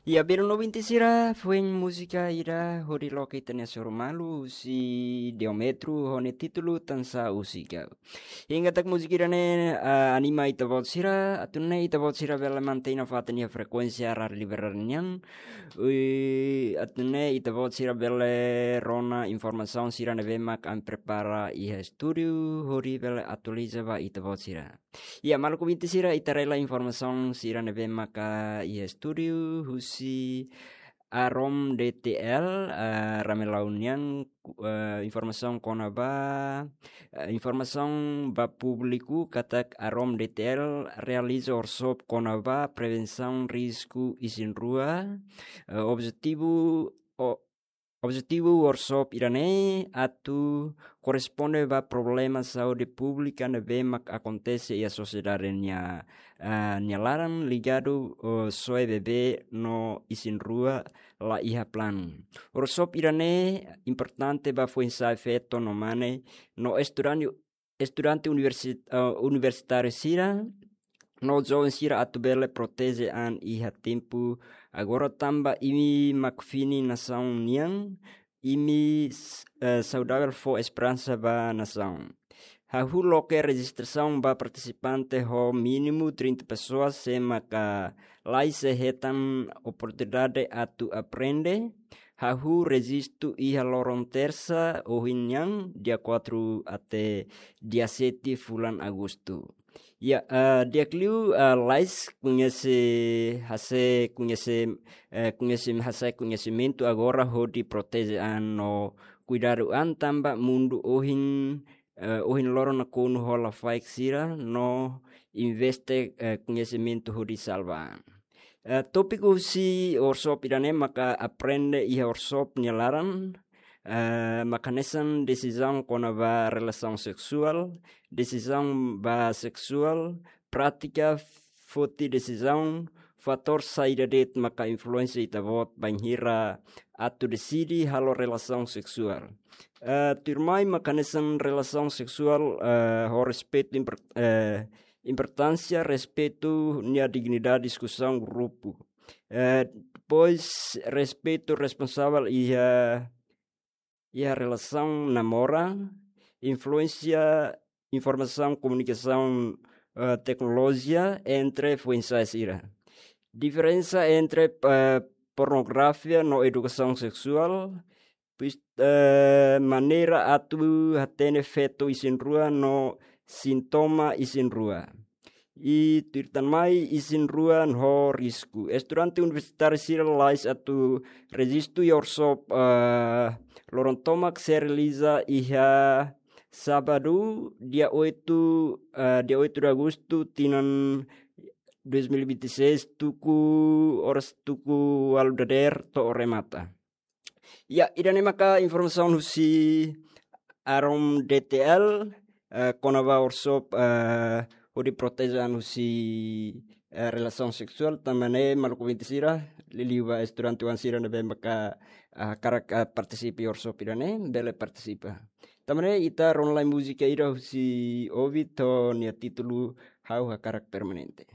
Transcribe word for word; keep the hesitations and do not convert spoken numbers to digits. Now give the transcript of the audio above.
Ya, belun ouvinte sira, foin múzika ida hodi loke ita-nia sorumalu husi Diómetro ho nia títulu Tansá Husi Kau. Ha'u hanoin katak múzika ida-ne'e, ah, anima ita-boot sira, atu nune'e ita-boot sira bele mantein nafatin iha frekuénsia Rádiu Liberdade nian. Ui, atu nune'e ita-boot sira bele rona informasaun sira ne'ebé mak ami prepara iha estúdiu, hodi bele atualiza ba ita-boot sira. Ya, maluk ouvinte sira, ita haree lai informasaun sira ne'ebé maka iha estúdiu husi Arom D T L, eh, Ramelau nian, ku-, eh, informasaun kona-ba, eh, informasaun ba públiku katak Arom D T L realiza workshop kona-ba prevensaun risku isin-rua, eh, objetivu, o-, objetivu workshop ida-ne'e atu korresponde ba problema saúde públika ne'ebé mak akontese iha sosiedade nia, ah, nia laran ligadu, oh, soe bebé no isin-rua la iha planu. Workshop ida-ne'e importante ba foin-sa'e feto no mane no estudante, estudante universi-, eh, universitáriu sira no joven sira atu bele proteje an iha tempu agora tanba imi mak fini nasaun nian, imi s-, eh, saudavel fó esperansa ba nasaun. Hahú loke rejistrasaun ba partisipante ho mínimu trinta pessoas sé maka lais sei hetan oportunidade atu aprende. Hahú rejistu iha loron tersa ohin nian, dia quatro até dia sete fulan Agostu. Ya, eh, di'ak liu, eh, lais koñese, hase'e koñese, eh, koñese, hase'e koñesimentu agora hodi proteje an no kuidadu an tanba mundu ohin, eh, ohin loron nakonu ho lafaek sira no investe, eh, koñesimentu hodi salva an. Eh, tópiku husi workshop ida-ne'e maka aprende iha workshop nia laran, eh, mak hanesan desizaun kona-ba relasaun seksuál, desizaun ba seksuál, prátika foti desizaun, fatór saida de'it maka influénsia ita-boot bainhira atu deside halo relasaun seksuál. Eh, tuirmai mak hanesan relasaun seksuál, eh, ho respeitu impor-, eh, importánsia respeitu nia dignidade diskusaun grupu. Eh, depois, respeitu responsavel iha, iha relasaun namora, influénsia informasaun komunikasaun, eh, teknolojia entre foin-sa'e sira. Diferensa entre, eh, pornografia no edukasaun seksuál, pis-, eh, maneira atu hatene feto isin-rua no sintoma isin-rua. I tuir tan mai isin-rua ho risku. Estudante universitáriu sira lais atu rejistu iha workshop, eh, loron tomak sei realiza iha sábadu, dia oito, eh, dia oito de agosto, tinan dois mil e vinte e seis, tuku oras tuku ualu dadeer to'o remata. Ya, ida-ne'e maka informasaun husi Arom D T L, eh, kona-ba workshop, eh, hodi proteje an husi, eh, relasaun seksuál, tanba ne'e maluk ouvinte sira, liuliu ba estudante oan sira ne'ebé maka, ah, hakarak, ah, partisipa iha workshop ida-ne'e, bele partisipa. Tanba ne'e ita rona lai múzika ida husi Ovid ho nia títulu Ha'u Hakarak Permanente.